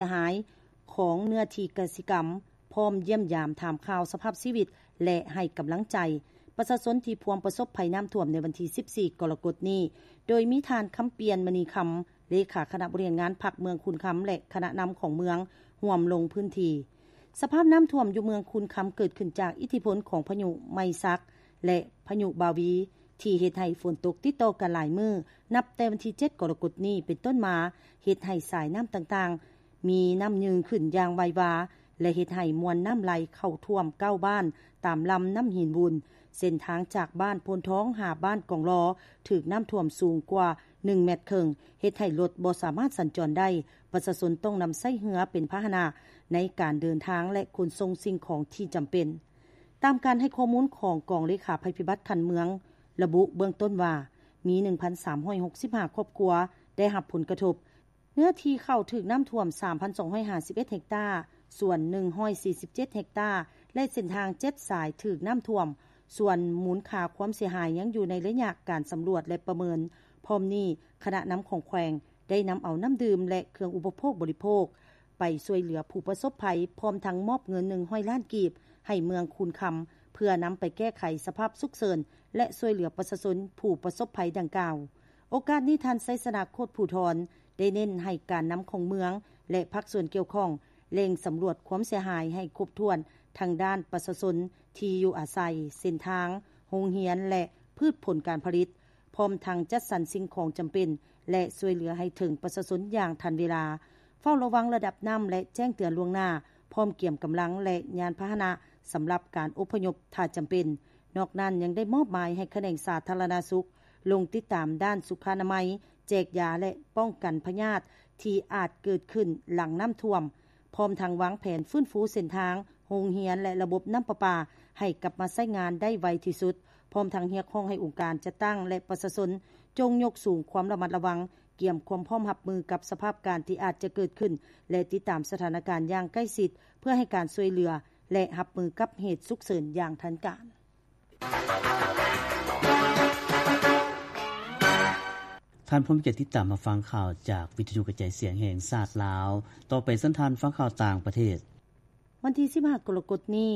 ຍຫາຍຂອງເນື້ອທີ່ກະສິກຳ, ພ້ອມຢ້ຽມຢາມຖາມຂ່າວສະພາບຊີວິດ ແລະ ໃຫ້ກຳລັງໃຈປະຊາຊົນທີ່ພວມປະສົບໄພນ້ຳຖ້ວມໃນວັນທີສິບສີ່ ກໍລະກົດນີ້, ໂດຍມີທ່ານ ຄຳປ່ຽນ ມະນີຄຳ ເລຂາຄະນະບໍລິຫານງານພັກເມືອງຄູນຄຳ ແລະ ຄະນະນຳຂອງເມືອງ ຮ່ວມລົງພື້ນທີ່. ສະພາບນ້ຳຖ້ວມຢູ່ເມືອງຄູນຄຳເກີດຂຶ້ນຈາກອິດທິພົນຂອງພາຍຸໄມສັກ ແລະ ພາຍຸບາວີ ທີ່ເຮັດໃຫ້ຝົນຕົກຕິດຕໍ່ກັນຫຼາຍມື້ ນັບແຕ່ວັນທີເຈັດ ກໍລະກົດນີ້ເປັນຕົ້ນມາ, ເຮັດໃຫ້ສາຍນ້ຳຕ່າງໆ ມີນ້ຳຍືງຂຶ້ນຢ່າງໄວວາ ແລະ ເຮັດໃຫ້ມວນນ້ຳໄຫຼເຂົ້າຖ້ວມເກົ້າບ້ານຕາມລຳນ້ຳຫີນວູນ. ເສັ້ນທາງຈາກບ້ານໂພນທອງຫາບ້ານກອງລໍຖືກນ້ຳຖ້ວມສູງກວ່າໜຶ່ງແມັດເຄິ່ງ, ເຮັດໃຫ້ລົດບໍ່ສາມາດສັນຈອນໄດ້. ປະຊາຊົນຕ້ອງນຳໃຊ້ເຮືອເປັນພາຫະນະໃນການເດີນທາງ ແລະ ຂົນສົ່ງສິ່ງຂອງທີ່ຈຳເປັນ. ຕາມການໃຫ້ຂໍ້ມູນຂອງກອງເລຂາໄພພິບັດຂັ້ນເມືອງ ລະບຸເບື້ອງຕົ້ນວ່າ ມີໜຶ່ງພັນສາມຮ້ອຍຫົກສິບຫ້າຄອບຄົວໄດ້ຮັບຜົນກະທົບ. ເນື້ອທີ່ເຂົ້າຖືກນ້ຳຖ້ວມສາມພັນສອງຮ້ອຍຫ້າສິບເອັດເຮັກຕາ, ສວນໜຶ່ງຮ້ອຍສີ່ສິບເຈັດເຮັກຕາ ແລະ ເສັ້ນທາງເຈັດສາຍຖືກນ້ຳຖ້ວມ, ສ່ວນມູນຄ່າຄວາມເສຍຫາຍຍັງຢູ່ໃນໄລຍະການສຳຫຼວດ ແລະ ປະເມີນ. ພ້ອມນີ້, ຄະນະນຳຂອງແຂວງໄດ້ນຳເອົານ້ຳດື່ມ ແລະ ເຄື່ອງອຸປະໂພກບໍລິໂພກ ໄປຊ່ວຍເຫຼືອຜູ້ປະສົບໄພ, ພ້ອມທັງມອບເງິນໜຶ່ງຮ້ອຍລ້ານກີບໃຫ້ເມືອງຄູນຄຳ ເພື່ອນຳໄປແກ້ໄຂສະພາບສຸກເສີນ ແລະ ຊ່ວຍເຫຼືອປະຊາຊົນຜູ້ປະສົບໄພດັ່ງກ່າວ. ໂອກາດນີ້, ທ່ານ ໄຊຊະນະ ໂຄດພູທອນ ໄດ້ເນັ້ນໃຫ້ການນຳຂອງເມືອງ ແລະ ພາກສ່ວນກ່ຽວຂ້ອງ ເລັ່ງສຳຫຼວດຄວາມເສຍຫາຍໃຫ້ຄົບຖ້ວນ ທັງດ້ານປະຊາຊົນ, ທີ່ຢູ່ອາໄສ, ເສັ້ນທາງ, ໂຮງຮຽນ ແລະ ພືດຜົນການຜະລິດ, ພ້ອມທັງຈັດສັນສິ່ງຂອງຈຳເປັນ ແລະ ຊ່ວຍເຫຼືອໃຫ້ເຖິງປະຊາຊົນຢ່າງທັນເວລາ, ເຝົ້າລະວັງລະດັບນ້ຳ ແລະ ແຈ້ງເຕືອນລ່ວງໜ້າ, ພ້ອມກຽມກຳລັງ ແລະ ຍານພາຫະນະສຳລັບການອົບພະຍົບຖ້າຈຳເປັນ. ນອກນັ້ນ, ຍັງໄດ້ມອບໝາຍໃຫ້ຂະແໜງສາທາລະນະສຸກ ລົງຕິດຕາມດ້ານສຸຂະອະນາໄມ, ແຈກຢາ ແລະ ປ້ອງກັນພະຍາດທີ່ອາດເກີດຂຶ້ນຫຼັງນ້ຳຖ້ວມ, ພ້ອມທັງວາງແຜນຟື້ນຟູເສັ້ນທາງ, ໂຮງຮຽນ ແລະ ລະບົບນ້ຳປະປາໃຫ້ກັບມາໃຊ້ງານໄດ້ໄວທີ່ສຸດ, ພ້ອມທັງຮຽກຮ້ອງໃຫ້ອົງການຈັດຕັ້ງ ແລະ ປະຊາຊົນ ຈົ່ງຍົກສູງຄວາມລະມັດລະວັງ, ກຽມຄວາມພ້ອມຮັບມືກັບສະພາບການທີ່ອາດຈະເກີດຂຶ້ນ ແລະ ຕິດຕາມສະຖານະການຢ່າງໃກ້ຊິດ ເພື່ອໃຫ້ການຊ່ວຍເຫຼືອ ແລະ ຮັບມືກັບເຫດສຸກເສີນຢ່າງທັນການ. ທ່ານພ້ອມຈະຕິດຕາມຮັບຟັງຂ່າວຈາກວິທະຍຸກະຈາຍສຽງແຫ່ງຊາດລາວ. ຕໍ່ໄປເຊີນທ່ານຟັງຂ່າວຕ່າງປະເທດ. ວັນທີສິບຫ້າ ກໍລະກົດນີ້,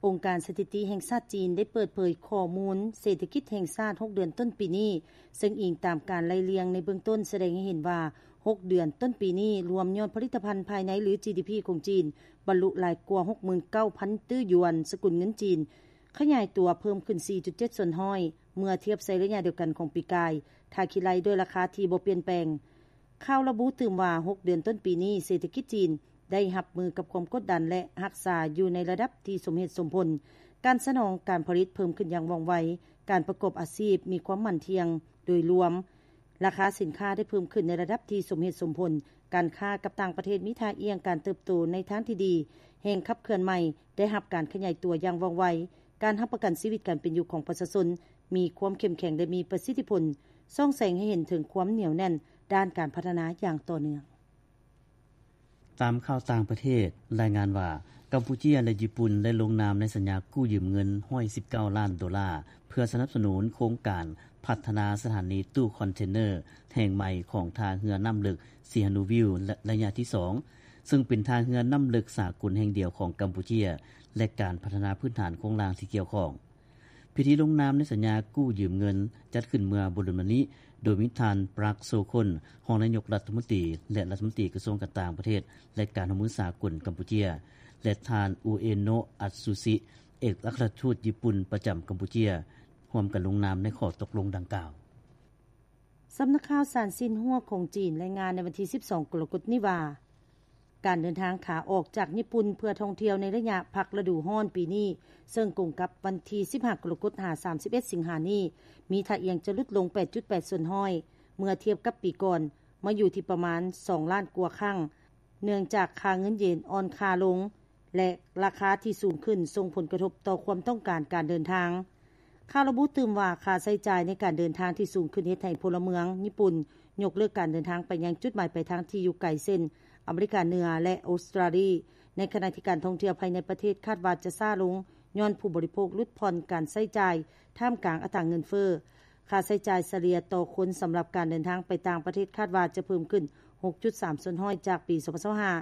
ອົງການສະຖິຕິແຫ່ງຊາດຈີນໄດ້ເປີດເຜີຍຂໍ້ມູນເສດຖະກິດແຫ່ງຊາດຫົກເດືອນຕົ້ນປີນີ້, ເຊິ່ງອີງຕາມການໄລ່ລຽງໃນເບື້ອງຕົ້ນສະແດງໃຫ້ເຫັນວ່າ ຫົກເດືອນຕົ້ນປີນີ້ ລວມຍອດຜະລິດຕະພັນພາຍໃນ ຫຼື ຈີດີພີ ຂອງຈີນ ບັນລຸຫຼາຍກວ່າ ຫົກໝື່ນເກົ້າພັນຕື້ຢວນ ສະກຸນເງິນຈີນ, ຂະຫຍາຍຕົວເພີ່ມຂຶ້ນ ສີ່ຈຸດເຈັດສ່ວນຮ້ອຍ ເມື່ອທຽບໃສ່ໄລຍະດຽວກັນຂອງປີກາຍ, ຖ້າຄິດໄລ່ດ້ວຍລາຄາທີ່ບໍ່ປ່ຽນແປງ. ຂ່າວລະບຸຕື່ມວ່າ ຫົກເດືອນຕົ້ນປີນີ້ ເສດຖະກິດຈີນໄດ້ຮັບມືກັບຄວາມກົດດັນ ແລະ ຮັກສາຢູ່ໃນລະດັບທີ່ສົມເຫດສົມຜົນ. ການສະໜອງການຜະລິດເພີ່ມຂຶ້ນຢ່າງວ່ອງໄວ, ການປະກອບອາຊີບມີຄວາມໝັ້ນທ່ຽງ. ໂດຍລວມ, ລາຄາສິນຄ້າໄດ້ເພີ່ມຂຶ້ນໃນລະດັບທີ່ສົມເຫດສົມຜົນ, ການຄ້າກັບຕ່າງປະເທດມີທ່າອ່ຽງການເຕີບໂຕໃນທາງທີ່ດີ, ແຮງຂັບເຄື່ອນໃໝ່ໄດ້ຮັບການຂະຫຍາຍຕົວຢ່າງວ່ອງໄວ, ການຮັບປະກັນຊີວິດການເປັນຢູ່ຂອງປະຊາຊົນມີຄວາມເຂັ້ມແຂງ ແລະ ມີປະສິດທິຜົນ, ສ່ອງແສງໃຫ້ເຫັນເຖິງຄວາມໜຽວແໜ້ນດ້ານການພັດທະນາຢ່າງຕໍ່ເນື່ອງ. ຕາມຂ່າວຕ່າງປະເທດລາຍງານວ່າ ກຳປູເຈຍ ແລະ ຍີ່ປຸ່ນ ໄດ້ລົງນາມໃນສັນຍາກູ້ຢືມເງິນ ໜຶ່ງຮ້ອຍສິບເກົ້າລ້ານໂດລາ ເພື່ອສະໜັບສະໜູນໂຄງການພັດທະນາສະຖານີຕູ້ຄອນເທນເນີແຫ່ງໃໝ່ຂອງທ່າເຮືອນ້ຳເລິກ ສີຫະນູວິວ ໄລຍະທີສອງ ເຊິ່ງເປັນທ່າເຮືອນ້ຳເລິກສາກົນແຫ່ງດຽວຂອງກຳປູເຈຍ ແລະ ການພັດທະນາພື້ນຖານໂຄງລ່າງທີ່ກ່ຽວຂ້ອງ. ພິທີລົງນາມໃນສັນຍາກູ້ຢືມເງິນ ຈັດຂຶ້ນເມື່ອບໍ່ດົນມານີ້ ໂດຍມີທ່ານ ປຣັກ ໂຊຄົນ ຮອງນາຍົກລັດຖະມົນຕີ ແລະ ລັດຖະມົນຕີກະຊວງການຕ່າງປະເທດ ແລະ ການຮ່ວມມືສາກົນກຳປູເຈຍ ແລະ ທ່ານ ອູເອໂນ ອັດຊູຊິ ເອກອັກຄະລັດທູດຍີ່ປຸ່ນປະຈຳກຳປູເຈຍ ຮ່ວມກັນລົງນາມໃນຂໍ້ຕົກລົງດັ່ງກ່າວ. ສຳນັກຂ່າວສານຊິນຫົວຂອງຈີນລາຍງານໃນວັນທີສິບສອງ ກໍລະກົດນີ້ວ່າ ການເດີນທາງຂາອອກຈາກຍີ່ປຸ່ນເພື່ອທ່ອງທ່ຽວໃນໄລຍະພັກລະດູຮ້ອນປີນີ້, ເຊິ່ງກົງກັບວັນທີສິບຫ້າ ກໍລະກົດ ຫາ ສາມສິບເອັດ ສິງຫານີ້, ມີທ່າອ່ຽງຈະຫຼຸດລົງ ແປດຈຸດແປດສ່ວນຮ້ອຍ ເມື່ອທຽບກັບປີກ່ອນ, ມາຢູ່ທີ່ປະມານ ສອງລ້ານກວ່າຄັ້ງ, ເນື່ອງຈາກຄ່າເງິນເຢນອ່ອນຄ່າລົງ ແລະ ລາຄາທີ່ສູງຂຶ້ນສົ່ງຜົນກະທົບຕໍ່ຄວາມຕ້ອງການການເດີນທາງ. ຂ່າວລະບຸຕື່ມວ່າ ຄ່າໃຊ້ຈ່າຍໃນການເດີນທາງທີ່ສູງຂຶ້ນເຮັດໃຫ້ພົນລະເມືອງຍີ່ປຸ່ນຍົກເລີກການເດີນທາງໄປຍັງຈຸດໝາຍປາຍທາງທີ່ຢູ່ໄກ ເຊັ່ນ ອາເມລິກາເໜືອ ແລະ ອົດສະຕຣາລີ, ໃນຂະນະທີ່ການທ່ອງທ່ຽວພາຍໃນປະເທດຄາດວ່າຈະຊ້າລົງ ຍ້ອນຜູ້ບໍລິໂພກຫຼຸດຜ່ອນການໃຊ້ຈ່າຍທ່າມກາງອັດຕາເງິນເຟີ້. ຄ່າໃຊ້ຈ່າຍສະເລ່ຍຕໍ່ຄົນສຳລັບການເດີນທາງໄປຕ່າງປະເທດຄາດວ່າຈະເພີ່ມຂຶ້ນ ຫົກຈຸດສາມສ່ວນຮ້ອຍ ຈາກປີສອງພັນຊາວຫ້າ